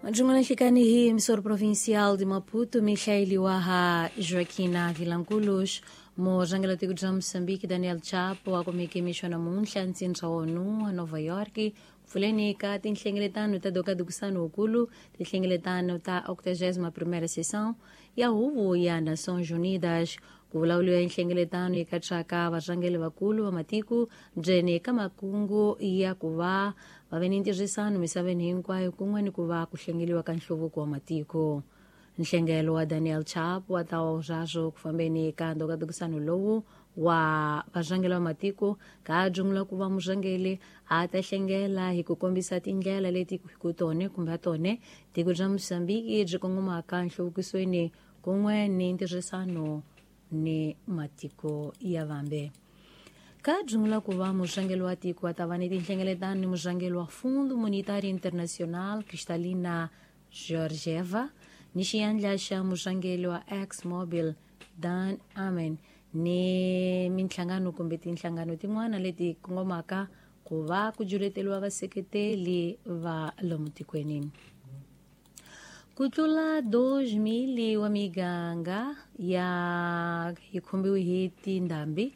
Majungula nhlikani hi emissora provincial de Maputo, Michael Waha Joaquina Vilanculos, murhangeri tiko bya Moçambique Daniel Chapo a kumeke mixo namuntlha ntsindza wa ONU a Nova York pfuleni ka tinhlengeletano ta dokadukisano wukulu tinhlengeletano ta 81ª sessão ya huvo ya Nações Unidas. Ku vulavuriwa nhlengeletano yi katsaka varhangeri vakulu va matiko ndzeni ka makungu ya ku va va ve ni ntirhisano misaveni hinkwayo kun'we ni ku va ku hlengeliwa ka nhluvuko wa matiko. Nhlengelo wa Daniel Chapo wa ta swaswo ku fambeni ka ndokadukisano lowu wa varhangeri va matiko ka jungula ku va murhangeri a ta hlengela hi ku kombisa tindlela leti ku tone kumbe a tone tiko bya Mozambique byi kongomaka nhluvukisweni kun'we ni ntirhisano ni matiko ya vambe. Ka jungula ku va murhangeri wa tiko a ta va ni tinhlengeletano ni murhangeri wa Fundo Monetário Internacional Kristalina Georgieva ni xiyandla xa murhangeri wa ExxonMobil Dan Amen ni minhlangano kumbe tinhlangano tin'wana leti kongomaka ku va ku juleteriwa vaseketeli va lomu tikweni. Ku tlula 2,000 wa miganga ya yi khumbiwe hi tindhambi,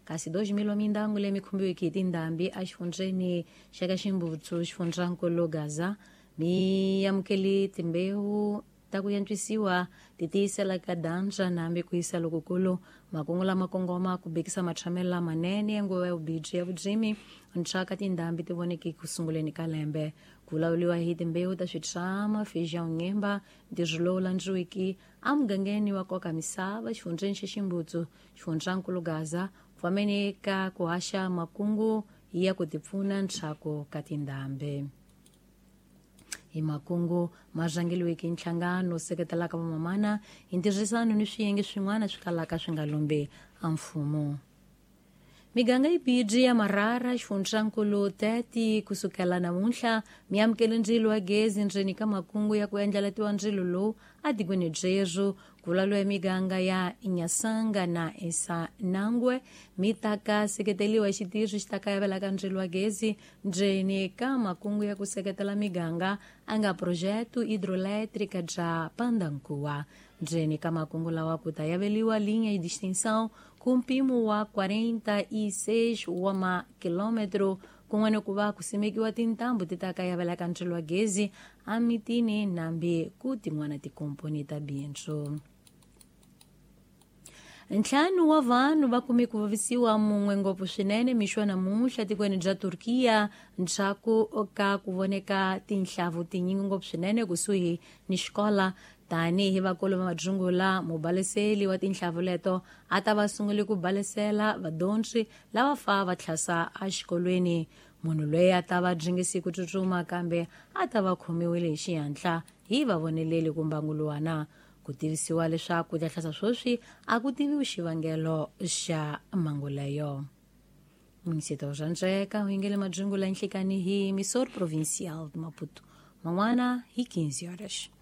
kasi 2,000 wa mindyangu leyi mi khumbiweke hi tindhambi exifundzheni xa ka Ximbutsu, xifundzankulu Gaza, mi amukele timbewu ta ku antswisiwa ti tiyisela ka dyandza na hambi ku hisa lokukulu. Makungu lama kongoma ku bekisa matshamelo lamanene ya nguva ya vubindzu ya vurimi ntswaka tindhambi ti voneke ku sunguleni ka lembe. Ku vulavuriwa hi timbewu ta switrama, feijão nyemba, ntirho lowu landziweke emugangeni wa koka misava xifundzheni xa Ximbutsu, xifundzankulu Gaza, ku fambeni ka ku haxa makungu ya ku tipfuna ntshaku ka tindhambi. Hi makungu ma rhangeriweke hi nhlangano seketelaka vamamana hi ntirhisano ni swiyenge swin'wana swi kalaka swi nga lombi a mfumo. Miganga yibidi ya Marara, xifundzankulu Tete, kusukela namuntlha mi amukele ndzilo wa gezi ndzeni ka makungu ya ku endleletiwa ndzilo lowu etikweni byerhu. Ku vulavuriwa miganga ya Nyasanga na Esanangwe mi ta ka seketeriwa hi xitirho xi ta kayavelaka ndzilo wa gezi ndzeni ka makungu ya ku seketela miganga a nga Projeto Hidroelétrica bya Pandankuwa. Ndzeni ka makungu lawa ku ta yaveliwa linha de extensão ku mpimo wa 46 wa makilometro kun'we ni ku va ku simekiwa tintambu ti ta kayavelaka ndzilo wa gezi emitini nambi ku tin'wana tikomponi ta bindzu. Ntlhanu wa vanhu va kume ku vavisiwa, mun'we ngopfu swinene mixo namuntlha tikweni bya Turkiya ndzhaku ka ku voneka tinhlavu tinyingi ngopfu swinene kusuhi ni xikola. Tanihi vakulu va madzungula, mubaleseli wa tinhlavu leto a ta va sungule ku balesela vadyondzi lava fa va tlhasa exikolweni. Munhu loyi a ta va dringisi ku tsutsuma kambe a ta va khomiwile hi xihatla hi vavoneleli kumbanguluwana. Ku tivisiwa leswaku ta hlasa sweswi a ku tiviwi xivangelo xa mhangu leyo. Munisito swa ndzeka u yingele madzungula nhlikani hi Emissora Provincial de Maputo. Man'wana hi 15 horas.